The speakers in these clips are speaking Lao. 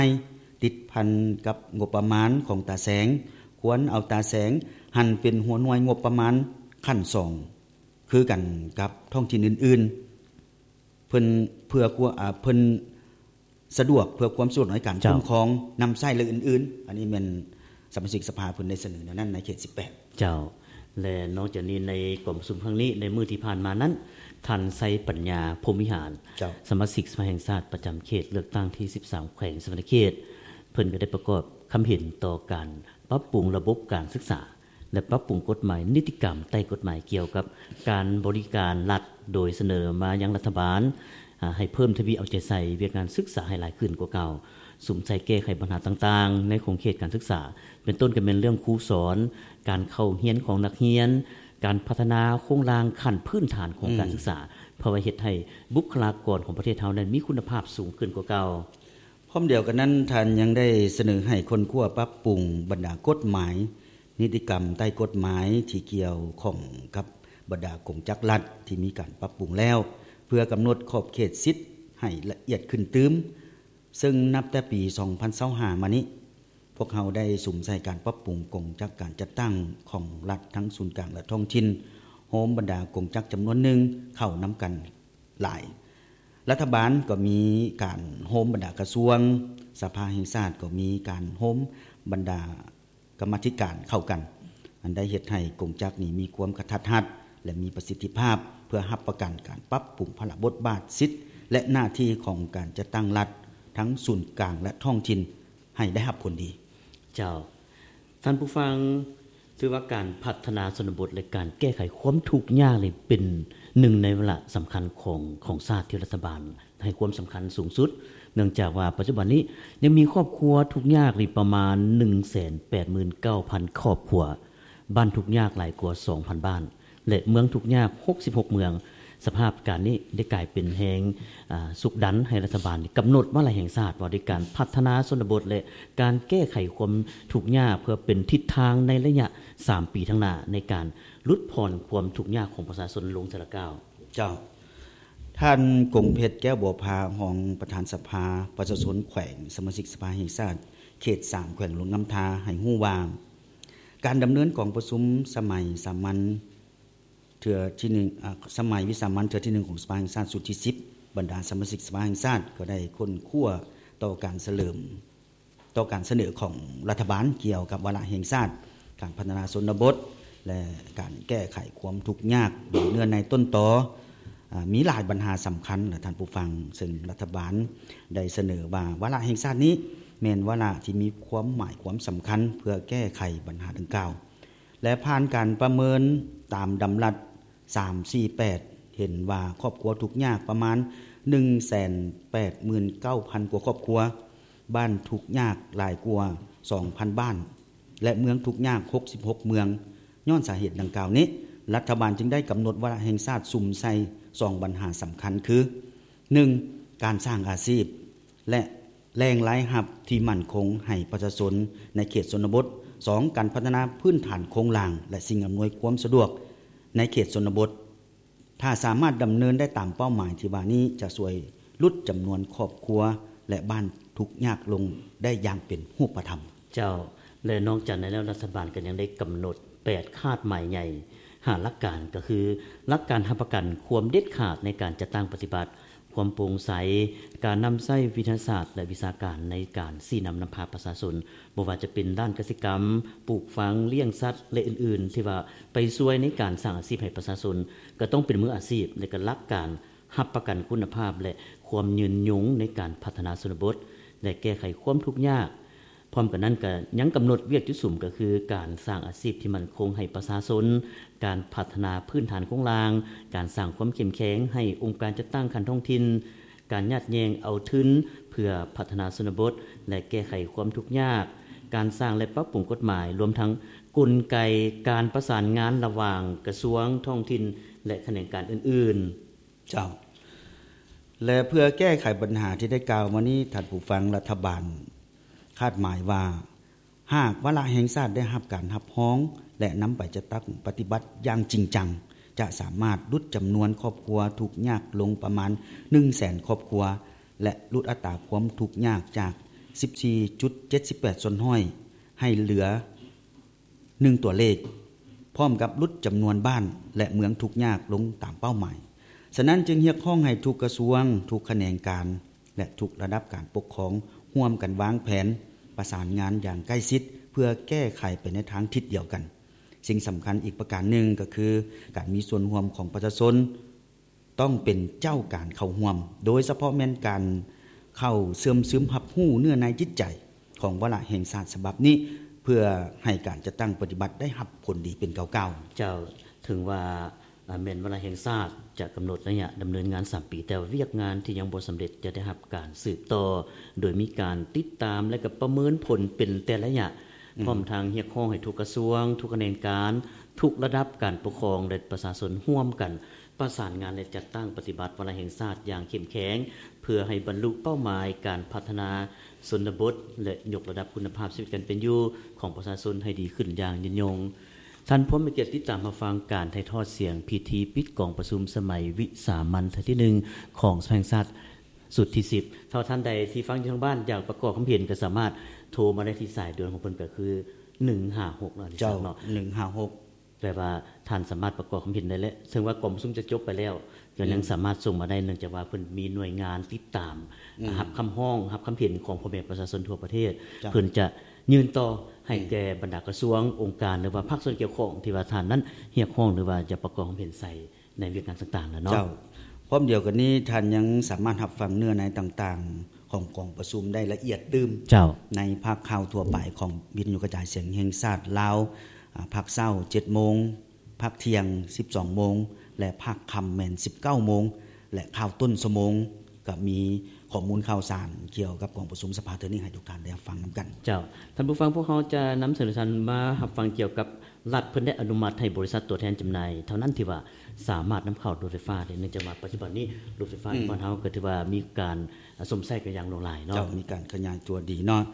ຍ ຕິດພັນກັບງົບປະມານຂອງຕາແສງ, ຄວນເອົາຕາແສງຫັນເປັນຫົວໜ່ວຍງົບປະມານຂັ້ນສອງ ຄືກັນກັບທ້ອງຖິ່ນອື່ນໆ ເພິ່ນ ເພື່ອຄວາມ ອາ ເພິ່ນສະດວກ ເພື່ອຄວາມສະດວກໃນການ ເຈົ້າ ຄຸ້ມຄອງ, ນຳໃຊ້ ແລະ ອື່ນໆ. ອັນນີ້ແມ່ນສະມາຊິກສະພາເພິ່ນໄດ້ສະເໜີແນວນັ້ນໃນເຂດສິບແປດ. ເຈົ້າ ແລະ ນອກຈາກນີ້ໃນກອງປະຊຸມຄັ້ງນີ້ ໃນມື້ທີ່ຜ່ານມານັ້ນ ທ່ານ ໄຊປັນຍາ ພົມວິຫານ ເຈົ້າ ສະມາຊິກສະພາແຫ່ງຊາດປະຈຳເຂດເລືອກຕັ້ງທີສິບສາມ ແຂວງສະຫວັນນະເຂດ ເພິ່ນກໍໄດ້ປະກອບຄຳເຫັນຕໍ່ການປັບປຸງລະບົບການສຶກສາ ແລະ ປັບປຸງກົດໝາຍນິຕິກຳໃຕ້ກົດໝາຍກ່ຽວກັບການບໍລິການລັດ ໂດຍສະເໜີມາຍັງລັດຖະບານ ອາ ໃຫ້ເພີ່ມທະວີເອົາໃຈໃສ່ວຽກງານສຶກສາໃຫ້ຫຼາຍຂຶ້ນກວ່າເກົ່າ, ສຸມໃສ່ແກ້ໄຂບັນຫາຕ່າງໆໃນຂົງເຂດການສຶກສາ ເປັນຕົ້ນກໍແມ່ນເລື່ອງຄູສອນ, ການເຂົ້າຮຽນຂອງນັກຮຽນ, ການພັດທະນາໂຄງລ່າງຂັ້ນພື້ນຖານຂອງການ ອືມ ສຶກສາ ເພື່ອວ່າເຮັດໃຫ້ບຸກຄະລາກອນຂອງປະເທດເຮົານັ້ນມີຄຸນນະພາບສູງຂຶ້ນກວ່າເກົ່າ. ພ້ອມດຽວກັນນັ້ນ, ທ່ານຍັງໄດ້ສະເໜີໃຫ້ຄົ້ນຄວ້າປັບປຸງບັນດາກົດໝາຍ, ນິຕິກຳໃຕ້ກົດໝາຍທີ່ກ່ຽວຂ້ອງກັບບັນດາກົງຈັກລັດທີ່ມີການປັບປຸງແລ້ວ ເພື່ອກຳນົດຂອບເຂດສິດໃຫ້ລະອຽດຂຶ້ນຕື່ມ, ເຊິ່ງນັບແຕ່ປີສອງພັນຊາວຫ້າມານີ້ ພວກເຮົາໄດ້ສຸມໃສ່ການປັບປຸງກົງຈັກການຈັດຕັ້ງຂອງລັດທັງສູນກາງ ແລະ ທ້ອງຖິ່ນ, ໂຮມບັນດາກົງຈັກຈຳນວນໜຶ່ງເຂົ້ານຳກັນຫຼາຍ. ລັດຖະບານກໍມີການໂຮມບັນດາກະຊວງ, ສະພາແຫ່ງຊາດກໍມີການໂຮມບັນດາກຳມາທິການເຂົ້າກັນ, ອັນໄດ້ເຮັດໃຫ້ກົງຈັກນີ້ມີຄວາມກະທັດຮັດ ແລະ ມີປະສິດທິພາບ ເພື່ອຮັບປະກັນການປັບປຸງພາລະບົດບາດ, ສິດ ແລະ ໜ້າທີ່ຂອງການຈັດຕັ້ງລັດ ທັງສູນກາງ ແລະ ທ້ອງຖິ່ນ ໃຫ້ໄດ້ຮັບຜົນດີ. ເຈົ້າ, ທ່ານຜູ້ຟັງ, ຖືວ່າການພັດທະນາຊົນນະບົດ ແລະ ການແກ້ໄຂຄວາມທຸກຍາກນີ້ເປັນໜຶ່ງໃນວາລະສຳຄັນຂອງ, ຂອງຊາດທີ່ລັດຖະບານໃຫ້ຄວາມສຳຄັນສູງສຸດ, ເນື່ອງຈາກວ່າປັດຈຸບັນນີ້ຍັງມີຄອບຄົວທຸກຍາກນີ້ປະມານໜຶ່ງແສນແປດໝື່ນເກົ້າພັນຄອບຄົວ, ບ້ານທຸກຍາກຫຼາຍກວ່າສອງພັນບ້ານ ແລະ ເມືອງທຸກຍາກຫົກສິບຫົກເມືອງ. ສະພາບການນີ້ໄດ້ກາຍເປັນແຮງ, ອາ, ຊຸກດັນໃຫ້ລັດຖະບານກຳນົດວາລະແຫ່ງຊາດວ່າດ້ວຍການພັດທະນາຊົນນະບົດ ແລະ ການແກ້ໄຂຄວາມທຸກຍາກ ເພື່ອເປັນທິດທາງໃນໄລຍະສາມປີຂ້າງໜ້າ ໃນການຫຼຸດຜ່ອນຄວາມທຸກຍາກຂອງປະຊາຊົນລົງເທື່ອລະກ້າວ. ເຈົ້າ. ທ່ານ ກົງເພັດ ແກ້ວບົວພາ, ຮອງປະທານສະພາປະຊາຊົນແຂວງ, ສະມາຊິກສະພາແຫ່ງຊາດເຂດສາມ ແຂວງຫຼວງນ້ຳທາ ໃຫ້ຮູ້ວ່າ ການດຳເນີນກອງປະຊຸມສະໄໝສາມັນເທື່ອທີໜຶ່ງ, ອາ, ສະໄໝວິສາມັນເທື່ອທີໜຶ່ງຂອງສະພາແຫ່ງຊາດຊຸດທີສິບ ບັນດາສະມາຊິກສະພາແຫ່ງຊາດ ກໍໄດ້ຄົ້ນຄວ້າຕໍ່ການສະເຫຼີມ, ຕໍ່ການສະເໜີຂອງລັດຖະບານກ່ຽວກັບວາລະແຫ່ງຊາດ, ການພັດທະນາຊົນນະບົດ ແລະ ການແກ້ໄຂຄວາມທຸກຍາກໂດຍເນື້ອໃນຕົ້ນຕໍ. ອາ, ມີຫຼາຍບັນຫາສຳຄັນລະທ່ານຜູ້ຟັງ, ເຊິ່ງລັດຖະບານໄດ້ສະເໜີວ່າ ວາລະແຫ່ງຊາດນີ້ແມ່ນວາລະທີ່ມີຄວາມໝາຍຄວາມສຳຄັນເພື່ອແກ້ໄຂບັນຫາດັ່ງກ່າວ ແລະ ຜ່ານການປະເມີນຕາມດຳລັດສາມສີ່ແປດ ເຫັນວ່າຄອບຄົວທຸກຍາກປະມານໜຶ່ງແສນແປດໝື່ນເກົ້າພັນກວ່າຄອບຄົວ, ບ້ານທຸກຍາກຫຼາຍກວ່າສອງພັນບ້ານ ແລະ ເມືອງທຸກຍາກຫົກສິບຫົກເມືອງ. ຍ້ອນສາເຫດດັ່ງກ່າວນີ້, ລັດຖະບານຈຶ່ງໄດ້ກຳນົດວາລະແຫ່ງຊາດສຸມໃສ່ສອງບັນຫາສຳຄັນຄື ໜຶ່ງ ການສ້າງອາຊີບ ແລະ ແຫຼ່ງລາຍຮັບທີ່ໝັ້ນຄົງໃຫ້ປະຊາຊົນໃນເຂດຊົນນະບົດ, ສອງ ການພັດທະນາພື້ນຖານໂຄງລ່າງ ແລະ ສິ່ງອຳນວຍຄວາມສະດວກໃນເຂດຊົນນະບົດ. ຖ້າສາມາດດຳເນີນໄດ້ຕາມເປົ້າໝາຍທີ່ວ່ານີ້ ຈະຊ່ວຍຫຼຸດຈຳນວນຄອບຄົວ ແລະ ບ້ານທຸກຍາກລົງໄດ້ຢ່າງເປັນຮູບປະທຳ. ເຈົ້າ, ແລະ ນອກຈາກນັ້ນແລ້ວ ລັດຖະບານກໍຍັງໄດ້ກຳນົດແປດຄາດໝາຍໃຫຍ່ ຫ້າຫຼັກການ ກໍຄື ຫຼັກການຮັບປະກັນຄວາມເດັດຂາດໃນການຈັດຕັ້ງປະຕິບັດ, ຄວາມໂປ່ງໃສ, ການນຳໃຊ້ວິທະຍາສາດ ແລະ ວິຊາການໃນການຊີ້ນຳນຳພາປະຊາຊົນ, ບໍ່ວ່າຈະເປັນດ້ານກະສິກຳ, ປູກຝັງ, ລ້ຽງສັດ ແລະ ອື່ນໆ ທີ່ວ່າໄປຊ່ວຍໃນການສ້າງອາຊີບໃຫ້ປະຊາຊົນ, ກໍຕ້ອງເປັນມືອາຊີບ ແລະ ກໍຫຼັກການຮັບປະກັນຄຸນນະພາບ ແລະ ຄວາມຍືນຍົງໃນການພັດທະນາຊົນນະບົດ ແລະ ແກ້ໄຂຄວາມທຸກຍາກ. ພ້ອມກັນນັ້ນກໍຍັງກຳນົດວຽກຈຸດສຸມ ກໍຄືການສ້າງອາຊີບທີ່ໝັ້ນຄົງໃຫ້ປະຊາຊົນ, ການພັດທະນາພື້ນຖານໂຄງລ່າງ, ການສ້າງຄວາມເຂັ້ມແຂງໃຫ້ອົງການຈັດຕັ້ງຂັ້ນທ້ອງຖິ່ນ, ການຍາດແຍ່ງເອົາທຶນເພື່ອພັດທະນາຊົນນະບົດ ແລະ ແກ້ໄຂຄວາມທຸກຍາກ, ການສ້າງ ແລະ ປັບປຸງກົດໝາຍ, ລວມທັງກົນໄກການປະສານງານລະຫວ່າງກະຊວງ, ທ້ອງຖິ່ນ ແລະ ຂະແໜງການອື່ນໆ. ເຈົ້າ. ແລະ ເພື່ອແກ້ໄຂບັນຫາທີ່ໄດ້ກ່າວມານີ້, ທ່ານຜູ້ຟັງ, ລັດຖະບານຄາດໝາຍວ່າ ຫາກວາລະແຫ່ງຊາດໄດ້ຮັບການຮັບຮອງ ແລະ ນຳໄປຈັດຕັ້ງປະຕິບັດຢ່າງຈິງຈັງ, ຈະສາມາດຫຼຸດຈຳນວນຄອບຄົວທຸກຍາກລົງປະມານໜຶ່ງແສນຄອບຄົວ ແລະ ຫຼຸດອັດຕາຄວາມທຸກຍາກຈາກ ສິບສີ່ຈຸດເຈັດສິບແປດສ່ວນຮ້ອຍ ໃຫ້ເຫຼືອໜຶ່ງຕົວເລກ, ພ້ອມກັບຫຼຸດຈຳນວນບ້ານ ແລະ ເມືອງທຸກຍາກລົງຕາມເປົ້າໝາຍ. ສະນັ້ນຈຶ່ງຮຽກຮ້ອງໃຫ້ທຸກກະຊວງ, ທຸກຂະແໜງການ ແລະ ທຸກລະດັບການປົກຄອງ ຮ່ວມກັນວາງແຜນປະສານງານຢ່າງໃກ້ຊິດ ເພື່ອແກ້ໄຂໄປໃນທາງທິດດຽວກັນ. ສິ່ງສຳຄັນອີກປະການໜຶ່ງກໍຄື ການມີສ່ວນຮ່ວມຂອງປະຊາຊົນ ຕ້ອງເປັນເຈົ້າການເຂົ້າຮ່ວມ, ໂດຍສະເພາະແມ່ນການເຂົ້າເຊື່ອມຊຶມຮັບຮູ້ເນື້ອໃນຈິດໃຈຂອງວາລະແຫ່ງຊາດສະບັບນີ້ ເພື່ອໃຫ້ການຈັດຕັ້ງປະຕິບັດໄດ້ຮັບຜົນດີເປັນກ້າວໆ. ເຈົ້າ, ເຖິງວ່າ ອາ ແມ່ນວາລະແຫ່ງຊາດຈະກຳນົດໄລຍະດຳເນີນງານສາມປີ, ແຕ່ວ່າວຽກງານທີ່ຍັງບໍ່ສຳເລັດຈະໄດ້ຮັບການສືບຕໍ່ ໂດຍມີການຕິດຕາມ ແລະ ກໍປະເມີນຜົນເປັນແຕ່ໄລຍະ, ອືມ ພ້ອມທັງຮຽກຮ້ອງໃຫ້ທຸກກະຊວງ, ທຸກຂະແໜງການ, ທຸກລະດັບການປົກຄອງ ແລະ ປະຊາຊົນຮ່ວມກັນປະສານງານ ແລະ ຈັດຕັ້ງປະຕິບັດວາລະແຫ່ງຊາດຢ່າງເຂັ້ມແຂງ ເພື່ອໃຫ້ບັນລຸເປົ້າໝາຍການພັດທະນາຊົນນະບົດ ແລະ ຍົກລະດັບຄຸນນະພາບຊີວິດການເປັນຢູ່ຂອງປະຊາຊົນໃຫ້ດີຂຶ້ນຢ່າງຍືນຍົງ. ທ່ານຜູ້ມີກຽດຕິດຕາມຮັບຟັງການຖ່າຍທອດສຽງພິທີປິດກອງປະຊຸມສະໄໝວິສາມັນເທື່ອທີໜຶ່ງຂອງສະພາແຫ່ງຊາດຊຸດທີສິບ. ຖ້າວ່າທ່ານໃດທີ່ຟັງຢູ່ທາງບ້ານຢາກປະກອບຄຳເຫັນ ກໍສາມາດໂທມາໄດ້ທີ່ສາຍດ່ວນຂອງເພິ່ນ ກໍຄືໜຶ່ງຫ້າຫົກເນາະ ເຈົ້າ ເນາະ ໜຶ່ງຫ້າຫົກ ແປວ່າທ່ານສາມາດປະກອບຄຳເຫັນໄດ້ແຫຼະ ເຊິ່ງວ່າກອງປະຊຸມຈະຈົບໄປແລ້ວ ກໍຍັງ ອືມ ສາມາດສົ່ງມາໄດ້ ເນື່ອງຈາກວ່າເພິ່ນມີໜ່ວຍງານຕິດຕາມ ອືມ ຮັບຄຳຮ້ອງ ຮັບຄຳເຫັນຂອງພໍ່ແມ່ປະຊາຊົນທົ່ວປະເທດ ເຈົ້າ ເພິ່ນຈະຍື່ນຕໍ່ໃຫ້ ອືມ ແກ່ບັນດາກະຊວງ, ອົງການ ຫຼືວ່າພາກສ່ວນກ່ຽວຂ້ອງທີ່ວ່າທ່ານນັ້ນຮຽກຮ້ອງ ຫຼືວ່າຈະປະກອບຄຳເຫັນໃສ່ໃນວຽກງານຕ່າງໆແຫຼະເນາະ. ເຈົ້າ, ພ້ອມດຽວກັນນີ້ ທ່ານຍັງສາມາດຮັບຟັງເນື້ອໃນຕ່າງໆຂອງກອງປະຊຸມໄດ້ລະອຽດຕື່ມ ເຈົ້າ ໃນພາກຂ່າວທົ່ວໄປຂອງວິທະຍຸກະຈາຍສຽງແຫ່ງຊາດລາວ ອາ ພາກເຊົ້າເຈັດໂມງ, ພາກທ່ຽງສິບສອງໂມງ ແລະ ພາກຄ່ຳແມ່ນສິບເກົ້າໂມງ ແລະ ຂ່າວຕົ້ນຊົ່ວໂມງ ກໍມີຂໍ້ມູນຂ່າວສານກ່ຽວກັບກອງປະຊຸມສະພາເທື່ອນີ້ໃຫ້ທຸກທ່ານໄດ້ຮັບຟັງນຳກັນ. ເຈົ້າ, ທ່ານຜູ້ຟັງ, ພວກເຮົາຈະນຳເສນທ່ານມາຮັບຟັງກ່ຽວກັບລັດເພິ່ນໄດ້ອະນຸມັດໃຫ້ບໍລິສັດຕົວແທນຈຳໜ່າຍເທົ່ານັ້ນທີ່ວ່າສາມາດນຳເຂົ້າລົດໄຟຟ້າໄດ້, ເນື່ອງຈາກວ່າປັດຈຸບັນນີ້ລົດໄຟຟ້າ ອືມ ໃນບ້ານເຮົາກໍຖືວ່າມີການ ອາ ຊົມໃຊ້ກັນຢ່າງຫຼວງຫຼາຍເນາະ. ເຈົ້າ, ມີການຂະຫຍາຍຕົວດີເນາະ.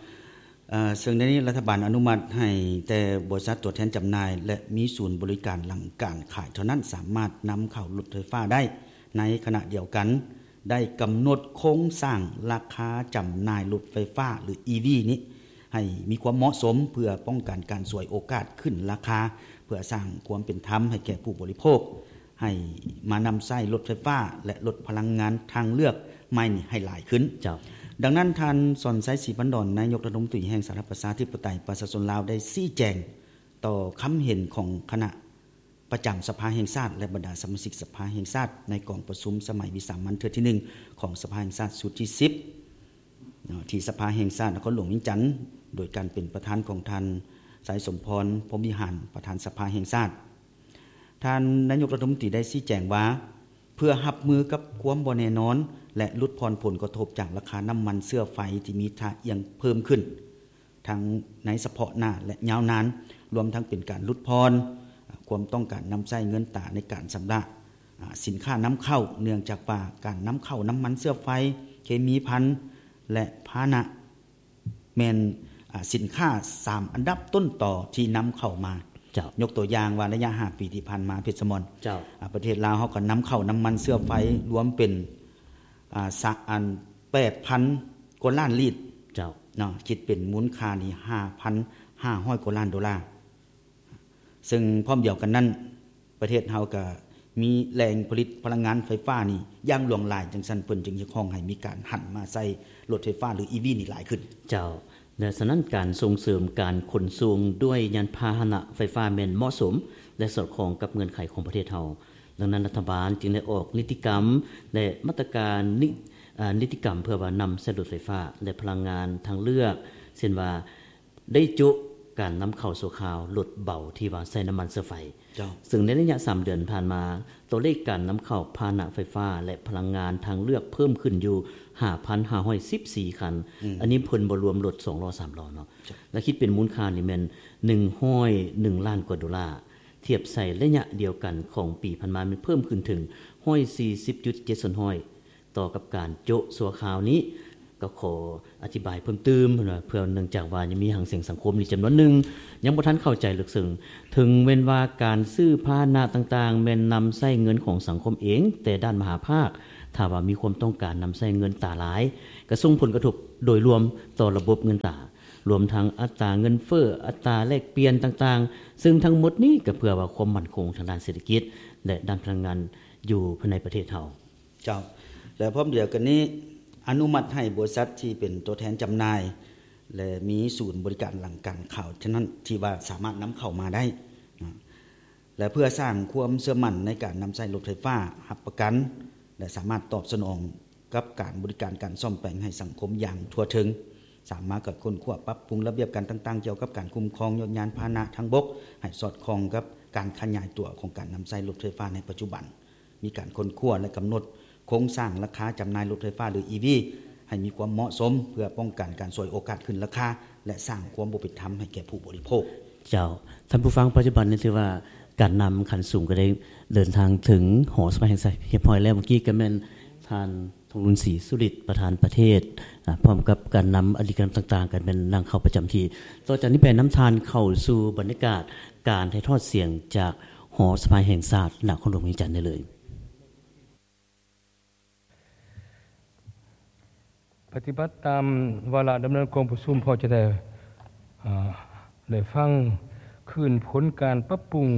ເອີ ເຊິ່ງໃນນີ້ລັດຖະບານອະນຸມັດໃຫ້ແຕ່ບໍລິສັດຕົວແທນຈຳໜ່າຍ ແລະ ມີສູນບໍລິການຫຼັງການຂາຍເທົ່ານັ້ນ ສາມາດນຳເຂົ້າລົດໄຟຟ້າໄດ້. ໃນຂະນະດຽວກັນ ໄດ້ກຳນົດໂຄງສ້າງລາຄາຈຳໜ່າຍລົດໄຟຟ້າ ຫຼື ອີ ວີ ນີ້ ໃຫ້ມີຄວາມເໝາະສົມ ເພື່ອປ້ອງກັນການສວຍໂອກາດຂຶ້ນລາຄາ, ເພື່ອສ້າງຄວາມເປັນທຳໃຫ້ແກ່ຜູ້ບໍລິໂພກ ໃຫ້ມານຳໃຊ້ລົດໄຟຟ້າ ແລະ ລົດພະລັງງານທາງເລືອກໃໝ່ນີ້ໃຫ້ຫຼາຍຂຶ້ນ. ເຈົ້າ. ດັ່ງນັ້ນ, ທ່ານ ສອນໄຊ ສີພັນດອນ ນາຍົກລັດຖະມົນຕີແຫ່ງສາທາລະນະລັດ ປະຊາທິປະໄຕ ປະຊາຊົນລາວ ໄດ້ຊີ້ແຈງຕໍ່ຄຳເຫັນຂອງຄະນະປະຈຳສະພາແຫ່ງຊາດ ແລະ ບັນດາສະມາຊິກສະພາແຫ່ງຊາດ ໃນກອງປະຊຸມສະໄໝວິສາມັນເທື່ອທີໜຶ່ງຂອງສະພາແຫ່ງຊາດຊຸດທີສິບ ເນາະ ທີ່ສະພາແຫ່ງຊາດນະຄອນຫຼວງວຽງຈັນ ໂດຍການເປັນປະທານຂອງທ່ານ ໄຊສົມພອນ ພົມວິຫານ ປະທານສະພາແຫ່ງຊາດ. ທ່ານນາຍົກລັດຖະມົນຕີໄດ້ຊີ້ແຈງວ່າ ເພື່ອຮັບມືກັບຄວາມບໍ່ແນ່ນອນ ແລະ ຫຼຸດຜ່ອນຜົນກະທົບຈາກລາຄານ້ຳມັນເຊື້ອໄຟທີ່ມີທ່າອ່ຽງເພີ່ມຂຶ້ນ ທັງໃນສະເພາະໜ້າ ແລະ ຍາວນານ, ລວມທັງເປັນການຫຼຸດຜ່ອນຄວາມຕ້ອງການນຳໃຊ້ເງິນຕາໃນການຊຳລະ ອາ ສິນຄ້ານຳເຂົ້າ, ເນື່ອງຈາກວ່າການນຳເຂົ້ານ້ຳມັນເຊື້ອໄຟ, ເຄມີພັນ ແລະ ພາຫະນະ ແມ່ນ ອາ ສິນຄ້າສາມອັນດັບຕົ້ນຕໍທີ່ນຳເຂົ້າມາ. ເຈົ້າ. ຍົກຕົວຢ່າງວ່າ ໄລຍະຫ້າປີທີ່ຜ່ານມາ ເພັດສະໝອນ ເຈົ້າ. ອາ ປະເທດລາວເຮົາກໍນຳເຂົ້ານ້ຳມັນເຊື້ອໄຟລວມເປັນ ອາ ສະ ອັນ ແປດພັນກວ່າລ້ານລີດ. ເຈົ້າ. ເນາະ, ຄິດເປັນມູນຄ່ານີ້ ຫ້າພັນຫ້າຮ້ອຍກວ່າລ້ານໂດລາ. ເຊິ່ງພ້ອມດຽວກັນນັ້ນ ປະເທດເຮົາກໍມີແຫຼ່ງຜະລິດພະລັງງານໄຟຟ້ານີ້ຢ່າງຫຼວງຫຼາຍ, ຈັ່ງຊັ້ນເພິ່ນຈຶ່ງຮຽກຮ້ອງໃຫ້ມີການຫັນມາໃຊ້ລົດໄຟຟ້າ ຫຼື ອີ ວີ ນີ້ຫຼາຍຂຶ້ນ. ເຈົ້າ, ແລະ ສະນັ້ນການສົ່ງເສີມການຂົນສົ່ງດ້ວຍຍານພາຫະນະໄຟຟ້າແມ່ນເໝາະສົມ ແລະ ສອດຄ່ອງກັບເງື່ອນໄຂຂອງປະເທດເຮົາ. ດັ່ງນັ້ນລັດຖະບານຈຶ່ງໄດ້ອອກນິຕິກຳ ແລະ ມາດຕະການ ນິ ອາ ນິຕິກຳເພື່ອວ່ານຳໃຊ້ລົດໄຟຟ້າ ແລະ ພະລັງງານທາງເລືອກ, ເຊັ່ນວ່າ ໄດ້ໂຈະການນຳເຂົ້າຊົ່ວຄາວລົດເບົາທີ່ວ່າໃຊ້ນ້ຳມັນເຊື້ອໄຟ. ເຈົ້າ. ເຊິ່ງໃນໄລຍະສາມເດືອນຜ່ານມາ, ຕົວເລກການນຳເຂົ້າພາຫະນະໄຟຟ້າ ແລະ ພະລັງງານທາງເລືອກເພີ່ມຂຶ້ນຢູ່ຫ້າພັນຫ້າຮ້ອຍສິບສີ່ຄັນ. ອືມ. ອັນນີ້ເພິ່ນບໍ່ລວມລົດສອງລໍ້ສາມລໍ້ເນາະ. ເຈົ້າ. ແລະ ຄິດເປັນມູນຄ່ານີ້ແມ່ນໜຶ່ງຮ້ອຍໜຶ່ງລ້ານກວ່າໂດລາ, ທຽບໃສ່ໄລຍະດຽວກັນຂອງປີຜ່ານມາແມ່ນເພີ່ມຂຶ້ນເຖິງຮ້ອຍສີ່ສິບຈຸດເຈັດສ່ວນຮ້ອຍ. ຕໍ່ກັບການໂຈະຊົ່ວຄາວນີ້ ກໍຂໍອະທິບາຍເພີ່ມຕື່ມ ເພື່ອ ເນື່ອງຈາກວ່າຍັງມີຫາງສຽງສັງຄົມອີກຈຳນວນໜຶ່ງ ຍັງບໍ່ທັນເຂົ້າໃຈເລິກເຊິ່ງ. ເຖິງແມ່ນວ່າການຊື້ພາຫະນະຕ່າງໆ ແມ່ນນຳໃຊ້ເງິນຂອງສັງຄົມເອງ, ແຕ່ດ້ານມະຫາພາກ ຖ້າວ່າມີຄວາມຕ້ອງການນຳໃຊ້ເງິນຕາຫຼາຍ, ກະສົ່ງຜົນກະທົບ ໂດຍລວມຕໍ່ລະບົບເງິນຕາ, ລວມທັງອັດຕາເງິນເຟີ້, ອັດຕາແລກປ່ຽນຕ່າງໆ, ຊຶ່ງທັງໝົດນີ້ກໍເພື່ອວ່າຄວາມໝັ້ນຄົງທາງດ້ານເສດຖະກິດ ແລະ ດ້ານພະລັງງານຢູ່ພາຍໃນປະເທດເຮົາ. ເຈົ້າ ແລະ ພ້ອມດຽວກັນນີ້ ອະນຸມັດໃຫ້ບໍລິສັດທີ່ເປັນຕົວແທນຈຳໜ່າຍ ແລະ ມີສູນບໍລິການຫຼັງການຂາຍເທົ່ານັ້ນ ທີ່ວ່າສາມາດນຳເຂົ້າມາໄດ້ນະ ແລະ ເພື່ອສ້າງຄວາມເຊື່ອໝັ້ນໃນການນຳໃຊ້ລົດໄຟຟ້າຮັບປະກັນ ແລະ ສາມາດຕອບສະໜອງກັບການບໍລິການການສ້ອມແປງໃຫ້ສັງຄົມຢ່າງທົ່ວເຖິງ, ສາມາດກວດຄົ້ນຄວ້າປັບປຸງລະບຽບການຕ່າງໆກ່ຽວກັບການຄຸ້ມຄອງຍົດຍານພາຫະນະທາງບົກ ໃຫ້ສອດຄ່ອງກັບການຂະຫຍາຍຕົວຂອງການນຳໃຊ້ລົດໄຟຟ້າໃນປັດຈຸບັນ, ມີການຄົ້ນຄວ້າ ແລະ ກຳນົດໂຄງສ້າງລາຄາຈຳໜ່າຍລົດໄຟຟ້າ ຫຼື ອີ ວີ ໃຫ້ມີຄວາມເໝາະສົມ ເພື່ອປ້ອງກັນການສວຍໂອກາດຂຶ້ນລາຄາ ແລະ ສ້າງຄວາມບໍ່ເປັນທຳໃຫ້ແກ່ຜູ້ບໍລິໂພກ. ເຈົ້າ ທ່ານຜູ້ຟັງ, ປັດຈຸບັນນີ້ຖືວ່າການນຳຂັ້ນສູງກໍໄດ້ເດີນທາງເຖິງຫໍສະພາແຫ່ງຊາດຮຽບຮ້ອຍແລ້ວ. ເມື່ອກີ້ກໍແມ່ນທ່ານ ທອງລຸນ ສີສຸລິດ ປະທານປະເທດ ອາ ພ້ອມກັບການນຳອະດີດການນຳຕ່າງໆ ກໍແມ່ນນັ່ງເຂົ້າປະຈຳທີ່. ຕໍ່ຈາກນີ້ໄປນຳທ່ານເຂົ້າສູ່ບັນຍາກາດການຖ່າຍທອດສຽງຈາກຫໍສະພາແຫ່ງຊາດ ນະຄອນຫຼວງວຽງຈັນໄດ້ເລີຍ. ປະຕິບັດຕາມວາລະດຳເນີນກອງປະຊຸມ ພໍຈະໄດ້ ເອີ ໄດ້ຟັງຄືນຜົນການປັບປຸງ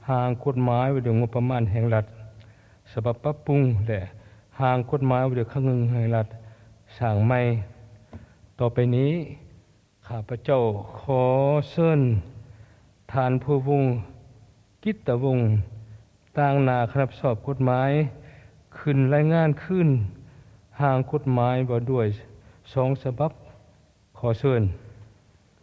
ຮ່າງກົດໝາຍວ່າດ້ວຍງົບປະມານແຫ່ງລັດ ສະບັບປັບປຸງ ແລະ ຮ່າງກົດໝາຍວ່າດ້ວຍຄັງເງິນແຫ່ງລັດສ້າງໃໝ່. ຕໍ່ໄປນີ້ ຂ້າພະເຈົ້າຂໍເຊີນທ່ານ ພູວົງ ກິດຕະວົງ ຕາງໜ້າຄະນະຮັບຜິດຊອບກົດໝາຍ ຂຶ້ນລາຍງານຄືນຮ່າງກົດໝາຍວ່າດ້ວຍສອງສະບັບ. ຂໍເຊີນ.